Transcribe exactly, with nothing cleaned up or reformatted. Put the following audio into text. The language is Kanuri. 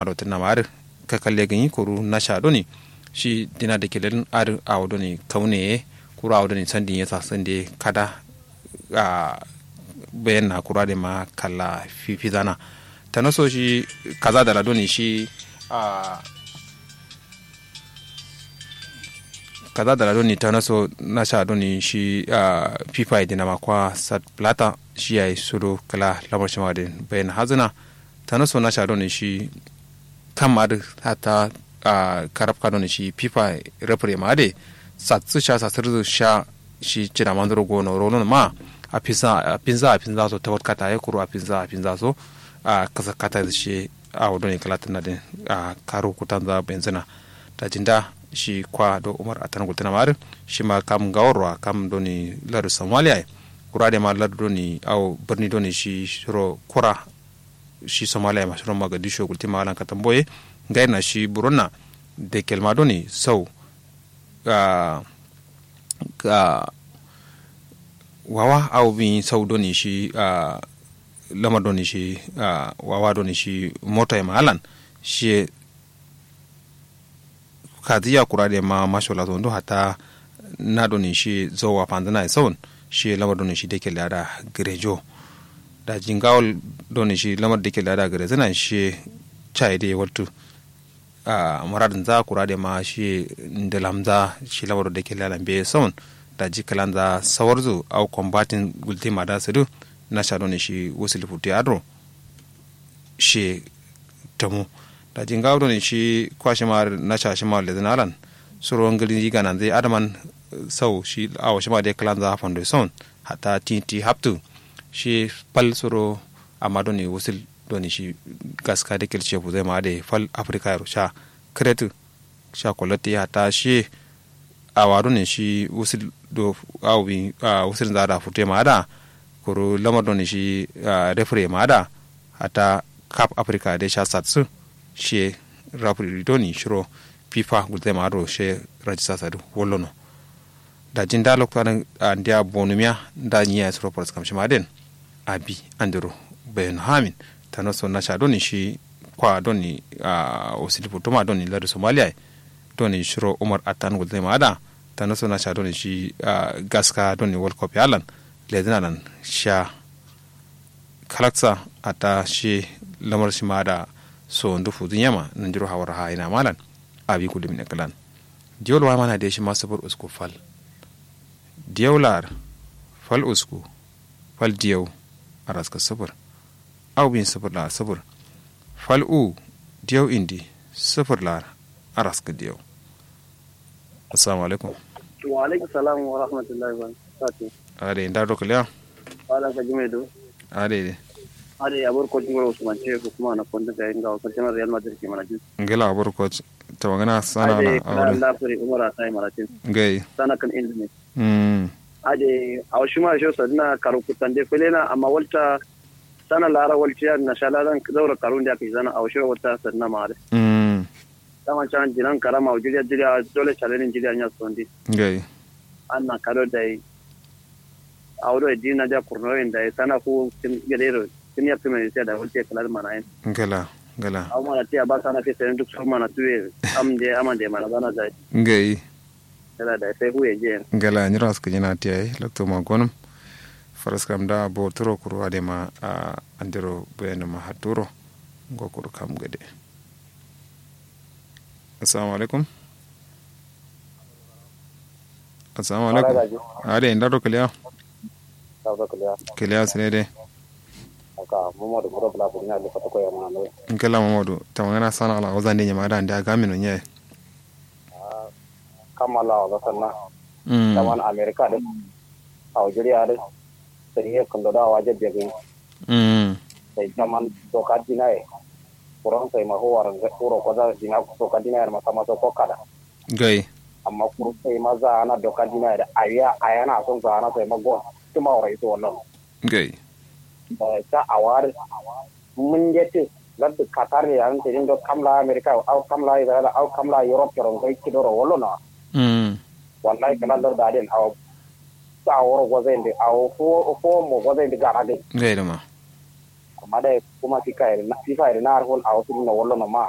aro tǝnna ma adǝ kakalle gǝnyi kuru nasha doni shi dina da kelelin adǝ awo doni kaune ye kuru awo doni sandin ye sasande kada. A bayan na kuru adǝ ma kalla fifizana tanaso shi kaza dala doni shi a kaza dala doni tanaso nasha doni shi a fifa ye dina ma kwa sat plata shi yayi sudu kala lamar shima din bayan hazina. Tanaso nasha doni shi kam adǝ hatta a karabka doni shi fifa refre ma adǝ satsu sha satsirzu sha shi cida manduro gono rolon ma a finza a finza so tawat kata ye kuru a finza a finza so a kasa kata shi awo doni kala tǝnna din a karu kutanza benzina. Daji nda shi kwa do umar atan gultǝna ma adǝ shima kam ngawor wa kam doni lardu somalia ye kura dai ma lardu doni awo birni doni shi shiro kura shi somalia ma shiro magadisho gultǝma alan katambo ye ngai na shi buronna. Dekel ma doni sau a a wawa awo bin sau doni shi a lamar doni shi a wawa doni shi moto ye ma alan shi ye kaziya kura dai ma mashola so ndu hatta na doni shi zowa fanzǝna ye saun shi ye lamar doni shi dekel ada gǝrejo. Daji ngawol doni shi lamar dekel ada gǝrezǝna shi ye caye dai waltu a muradǝnza kura dai ma shi ye ndǝlamza shi lamar dekel ada mbe ye saun. Daji kǝlanza sawarzu au kombatin gultǝ ma da sǝdǝ nasha doni shi wusul futu ye adǝro shi ye tamu. Daji ngawo doni shi kwa shima nasha shima lezǝna alan suro ngǝli gananzǝ ye adǝman sau shi awo shima dai kǝlanza fando ye saun hatta ti ti haptu shi fal suro amma doni wusul doni shi gaska dekel shefu zai ma adǝ ye fal africa yero sha kǝretǝ sha kolatti hatta shi awa done shi wusul do awi a wusul nza da futu ye ma ada kuru lamar done shi a refre ma ada hatta kap africa de sha satsu shi ye refre done shiro fifa gulzai ma adro shi ye rajista sadu wallono. Daji nda loktu adǝ andiya bonumiya nda nyiya suro faraskam shima aden abi andiro bayanu hamin tanaso nasha done shi kwa done a wusul futuma done lardu somalia ye done shiro umar attan gulzai ma ada tanaso nasha done shi a gaska done world cup ye alan lezǝna lan sha kalaksa hatta shi lamar shima ada so ndu fuzun yema nandiro hawar ha ina malan abi gullumin ye kǝlan. Diyol wa mana de shima sufur usku fal diyau lar fal usku fal diyau araska sufur au bin sufur lar sufur fal u diyau indi sufur lar araska diyau. Assalamu alaikum. Wa alaikum salam wa rahmatullahi wa barakatuh. Ade nda do kiliya. Wala ka jume do. Ade de. Ade abur ko jingoro usman ce ko kuma na konda ga inga ko jama real madrid ke mana jin. Ngela abur ko tawangana sana na awre. Nda furi umara sai maratin. Ngai sana kan inda ne. Mm. Ade awshima sho sadna karu kutande felena amma walta sana lara waltiya na shala dan zaura karun da ke zana awshiro walta sadna mare. Mm. Daman can jinan karama jiriya jiriya dole challenge jiriya nya sondi. Ngai. Anna kado dai. Awdo dina ja kurno yin dai sana ku kin gadero kin ya kuma sai da wuce kalar mana yin. Ngala ngala. Aw mana tiya ba sana ke sai duk sun mana tuwe am de amande mana bana dai. Ngai. Ngala dai sai huye je. Ngala nyiro aska jina tiya lokto ma gonum. Faraskam da bo turo kuru adema a andiro bayanu ma haturo. Ngo kuru kam gade. Assalamu alaikum. Assalamu alaikum. Ade nda do kiliya. Kiliya sine de. Aka mamadu buro bula buri na le fata ko ya mana no. Nkela mamadu tamangana sana ala wazan de nyama da nda gamino nye. Kamala wa sanna. Mm. Taman america de. Algeria de. Sai ye kundo da waje bege. Mm. Sai taman doka dinaye. Kuran sai ma huwar uro koza dina doka dinaye ma sama so kokada. Gai. Amma kuru sai ma za ana doka dinaye da awiya ayana son za ana sai ma go tuma ora iso wallan. Gai. Ta awar mun jete laddu qatar ne an tedin do kamla america au kamla israel au kamla europe ro gai kidoro wallo na. Mm. Wallahi kala lar da den au ta woro gozende au fo fo mo gozende gara de. Gai da ma. Amma dai kuma fifa ye dǝ na har hol awo sǝdinno wallono ma.